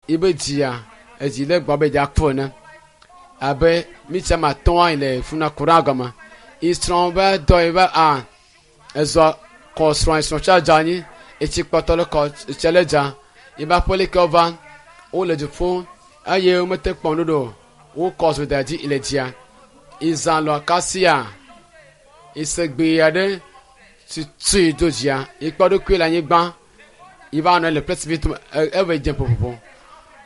Ibe dzia edzi le gbɔ be dza kpɔ ne abe mitsi ma tɔn le funa kura gɔme isrɔ̃ be dɔ yi be a ezɔ kɔ srɔ̃ srɔ̃ tsa dza anyi etsi kpɔtɔ le kɔ tse le dza yibe aƒelikewo va wole du ƒom eye womete kpɔ nuɖo o wokɔ zo da dzi le dzia izã lɔ kasia isegbe aɖe tutui do dzia yikpɔ ɖokui le anyigba yiva nɔ le plɛti vi eve dze ƒoƒoƒo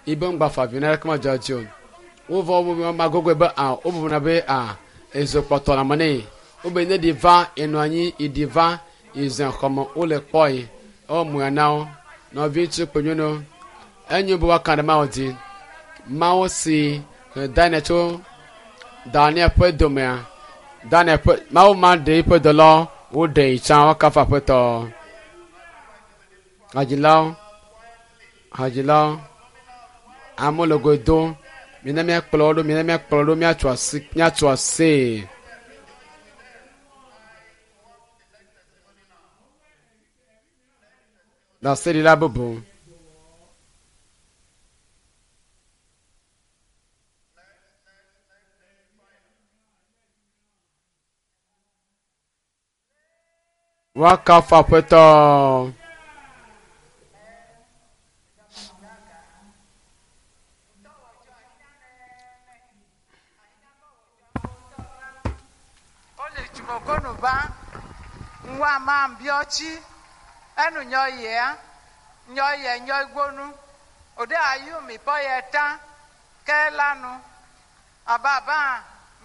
yibe ŋgba fa vi na ɖeke medzɔ dzi o wovɔ wo magogoe be a wobuna be a ezo kpɔtɔ le ame ne wobe ne ɖi va enɔ anyi iɖi va ize xɔme wole kpɔe ewɔ mo na wo nɔvi ŋutsu kple nyɔnuwo enyo be woaka ɖe Mawu dzi Mawu si he Daniel tso Daniel ƒe domea Daniel ƒe Mawu ma ɖe eƒe dɔlawo woɖe yi tsã woakafu Aƒetɔ hadzilawo hadzilawo amewo le go dom mina míakplɔ wo ɖo mina míakplɔ wo ɖo míatso asi míatso asi. Ɖaseɖila bubu. Woakafu Aƒetɔ. Wole tsumokonu ba ŋwa ma biɔtsi enu nyɔ yea nyɔ yɛ nyɔ gbonu o de ayu mi pɔ yɛ ta ke la nu ababa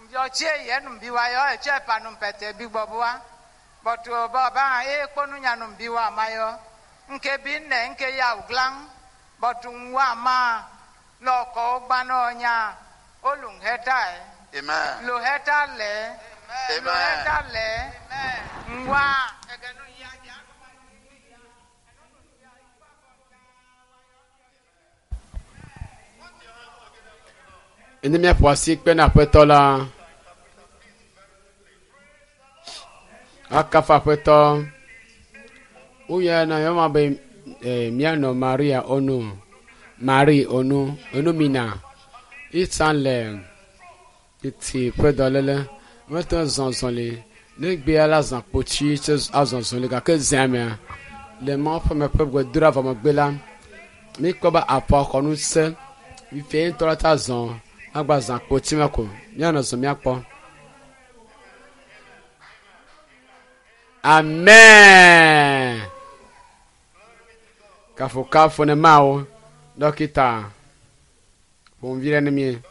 biɔtsi yɛ nu bi wa yɔ etsɛ panu pɛtɛ bi gbɔbua bɔtɔ bɔba eye kponu nyanu bi wa ma yɔ nke bi nɛ nke ya wuglan bɔtɔ ŋwa ma lɔkɔ gbanɔ nya olu hɛta yɛ. Amen. Lo hɛta lɛ. Lo hɛta lɛ. Ŋwa. Ne míaƒo asi kpe na Aƒetɔ la, akafu Aƒetɔ. Woyɔna yɔma be eh, míanɔ Maria onu, Marie onu, onumina. Itsa le titi ƒe dɔléle. Mete ŋu zɔ zɔli. Ne gbea la zã kpotsi tse azɔ zɔli gake zea mea le Mawu ƒe me ƒe gbedoɖa vɔ megbe la, míkpɔ be aƒua xɔ ŋusẽ. Fifia ŋutɔ la ta zɔ agba zã kpotsi me ko. Míanɔ zɔ míakpɔ. Amen. Kafukafu ne Mawu. Dɔkita ƒomevi ɖe ne mí.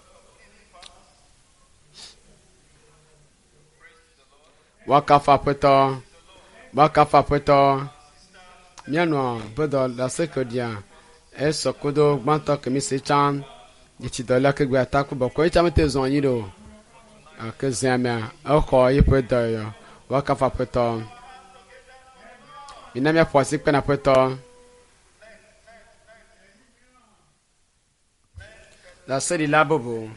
Woakafu Aƒetɔ. Woakafu Aƒetɔ. Míanɔ bedɔ ɖase ke ɖia esɔ kudo gbãtɔ ke mi se tsã dzitsidɔla ke gbe ataku bɔkɔ etsa mete zɔ anyi ɖo o. Gake zea mea exɔ eƒe dɔyɔyɔ. Woakafu Aƒetɔ. Mina míaƒo asi kpe na Aƒetɔ. Ɖaseɖila bubu.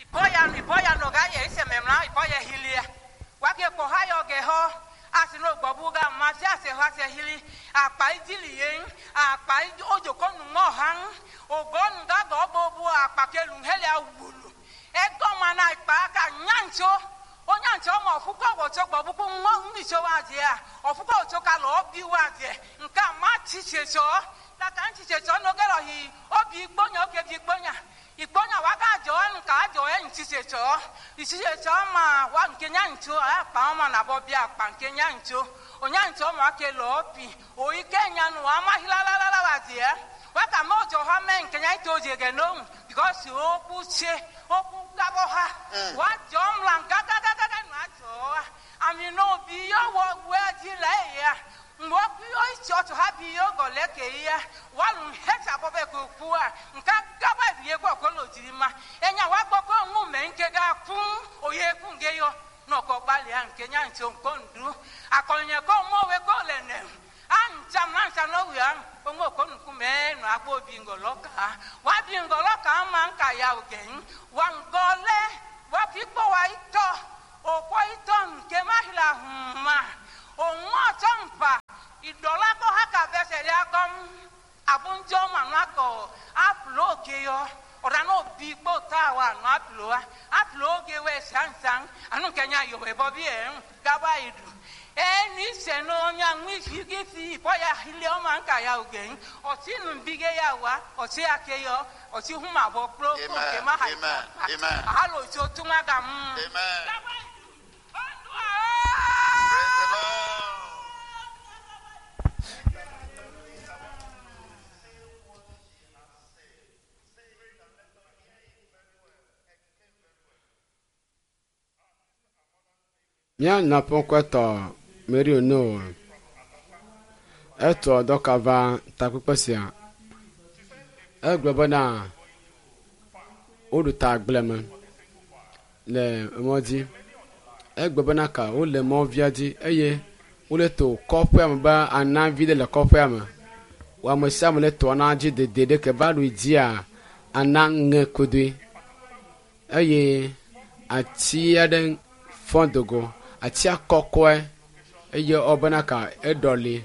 Ipoya nu ipoya no ga ye ise memla ipoya hilia. Wake ko hayo ge ho asi no gbobu ga ma si ase ho ase hili akpa idili yen akpa ojo ko nu mo han ogon ga go bobu akpa kelu hele awulu. Ego ma na ikpa ka nyancho onyancho ma ofuko wo cho gbobu ku mo ngi cho wa je a ofuko cho ka lo bi wa je nka ma chiche cho la ka chiche cho no ge lo hi obi gbonya oke bi gbonya ìgbóná wa ká jọ ẹ nǹka jọ ẹ ntí ṣe tsọ ìtí ṣe tsọ ma wa nke nya ntso akpa wọn ma nabọ bí akpa nke nya ntso onya ntso ma ke lọ pi oyi ke nya nu wa ma hilalalala wa diẹ wa ka mọ jọ ha mẹ nke nya ito dze gẹ n'ohun because okwu tse okwu gabọ ha wa jọ mla gagagagaga nu adzɔ wa ami n'obi yɔ wɔ wɛ dzi lɛ ya mgbe yɔ itsi ɔtɔ ha bi yɔ gɔlɛ ke ya walu hɛtsa bɔ bɛ ko kua nka gaba ye kɔ ko lo dziri ma enya wa gbɔ ko ŋu mɛ nke ga fún oye fún ge yɔ nɔkɔ gbalẽa nke nya ntso ŋkɔ ŋdu akɔnyɛ ko mɔwe ko le nɛ antsam antsam lɔwia oŋo ko nukume nɔ agbo bi ŋgɔlɔ ka wa bi ŋgɔlɔ ka ma nka ya o gɛn wa ŋgɔlɛ wa fi kpɔ wa itɔ okɔ itɔ nke ma hila huma òun ọ̀tọ̀ npa Ìdọ̀lá kọ́ haka fẹsẹ̀ rẹ̀ akọ́m àbúnjọ́ mànú akọ̀ àpùlọ̀ òkè yọ ọ̀rá náà bí kpó tá a wà nù àpùlọ̀ wa àpùlọ̀ òkè wẹ̀ sàǹsàǹ ànú kẹ́nyà yọ̀wẹ̀ bọ́ bí ẹ̀ ń gábà ìdù ẹni sẹ̀nù ọ̀nyà ń fi fi ìbọ̀yà ilé ọmọ nǹka ya òkè ń ọtí nù bí gé ya wá ọtí akéyọ ọtí hùmà bọ̀ kúrò kó Amen. kè má hà Amen. Amen. àhálò tí o tún má gà mú. Amen. Gábà ìdù ọ̀dùn Praise the Lord. Mía nɔƒe Mary Ono etɔ dɔka va takpekpe sia. Egblɔ bena woɖu ta agble me le mɔ dzi. Egblɔ bena ka wole mɔvia dzi eye wole to kɔƒea me be anavi ɖe le kɔƒea me. Wo ame sia ame le to ana dzi dede ɖe ke va ɖu dzia ana ŋe kodoe eye ati aɖe fɔ dogo. Atia kɔkɔe eye wobena ka eɖɔli.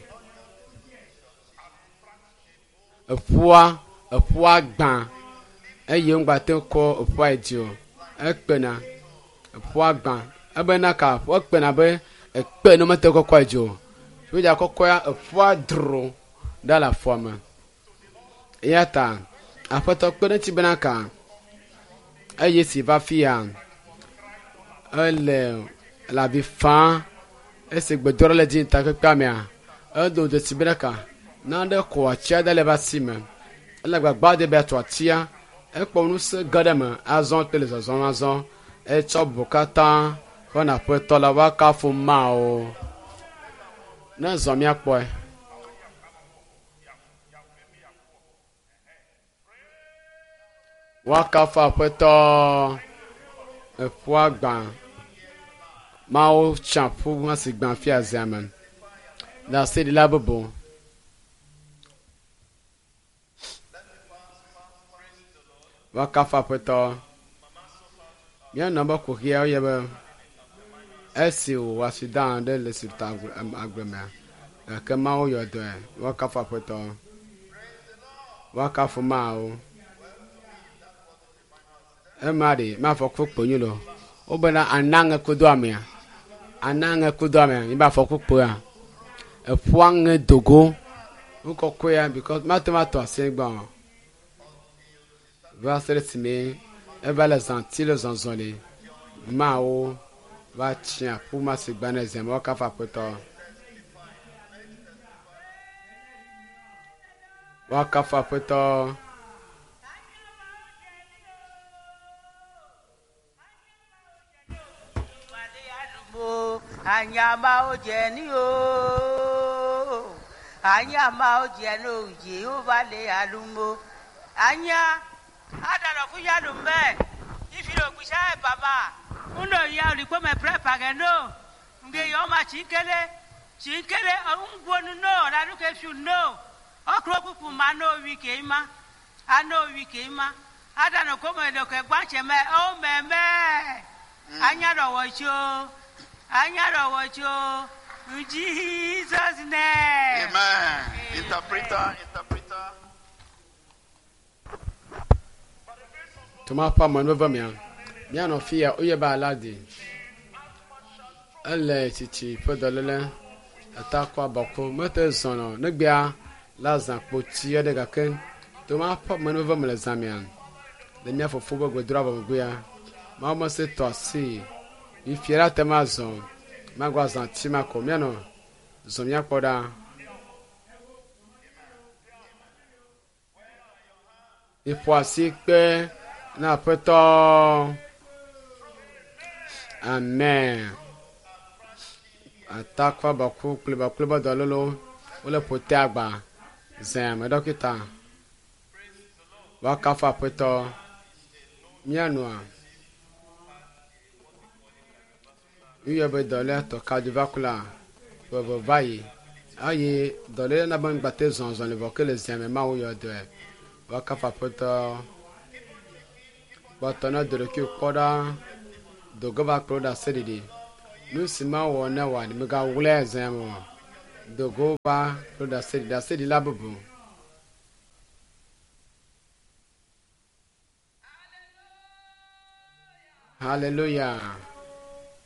Eƒua eƒua gbã eye ŋugbate kɔ eƒua yi dzi o. Ekpena eƒua gbã ebena ka ekpena be ekpe ne mete kɔkɔ yi dzi o. Wodza kɔkɔea eƒua dro ɖa le afɔa me. Eya ta aƒetɔ kpe ɖe eŋuti bena ka eye si va fi ya ele le avi fam esi gbedoɖa le dzi takpekpea mea edo dzesi bena ka nane kɔ atia ɖe le eƒe asi me ele gbagba de be yeatso atia ekpɔ ŋusẽ ge ɖe eme azɔ kple le zɔzɔm azɔ etsɔ bu katã xɔna aƒetɔ la woakafu Mawu ne zɔ míakpɔe. Woakafu aƒetɔ eƒua gbã. Mawu tsa ƒu hã si gbã fia zea me. Ɖaseɖila bubu. Woakafu aƒetɔ. Míanɔ be kuxiawo ye be esi wòwɔ accident ɖe le si ta agble mea gake Mawu yɔ dɔe. Woakafu aƒetɔ. Woakafu Mawu. Ema ɖe mafɔku kpo nyo lo. Wobena anaŋe kudo amea. Anaŋe kudo amea. Mi ba afɔku kpoa. Eƒua ŋe dogo. Ŋkɔkɔea because mate ŋu atɔ asi gbɔ. Va se ɖe esime eva le zãti le zɔzɔ le. Mawu va tsia ƒu ma si gbã ne zea me. Woakafu aƒetɔ. Woakafu aƒetɔ. Anyama o jẹ ní o anyama o jẹ ní o Jehova le alumo anya adalọ fún yalumẹ ifilo gbisa ẹ baba ŋdọ ya olùkọ́ mẹ pẹrẹ pàgẹ no nge yọ ọma tsi kele tsi kele ŋgbonu no ọ̀làdúkẹ́ fiu no ọkùnrin kúkú ma no wi kè é ma ano wi kè é ma adanọ kọ́mọ ẹ̀dọ̀kẹ́ gbàtsẹ̀ mẹ ọ́ mẹ́mẹ́ anyadọ̀wọ̀ tso anyadọ̀wọ̀ tso in Jesus name. Amen. Interpreter, interpreter. Toma ƒe amenuveve mea, míanɔ fi ya woyɔ be aladi. Ele tsitsi ƒe dɔléle atakɔ abɔko mete zɔnɔ negbea la zã kpotsi aɖe gake toma ƒe amenuveve me le zã mea le mía fofo be gbedoɖa vɔ megbea Mawu mese tɔ asi fifia la te ma zɔ magba zã tsi ma ko míanɔ zɔ míakpɔ ɖa. Miƒo asi kpe na aƒetɔ. Amen. Atakɔ baku kple bakple be dɔlélewo wole ƒote agba zea me dɔkita. Woakafu aƒetɔ. Míanɔa yuyɔ be dɔléa tɔ cardiovascular veve va yi eye dɔléle na be ŋgbate zɔzɔ le vɔ ke le zea me Mawu yɔ dɔe. Woakafu aƒetɔ. Kpɔtɔ ne do ɖokui kpɔ ɖa dogo va kplɔ ɖe aseɖiɖi. Nu si mawɔ ne wòa megawlɛ zea me o. Dogo va ɖo ɖase ɖaseɖila bubu. Hallelujah.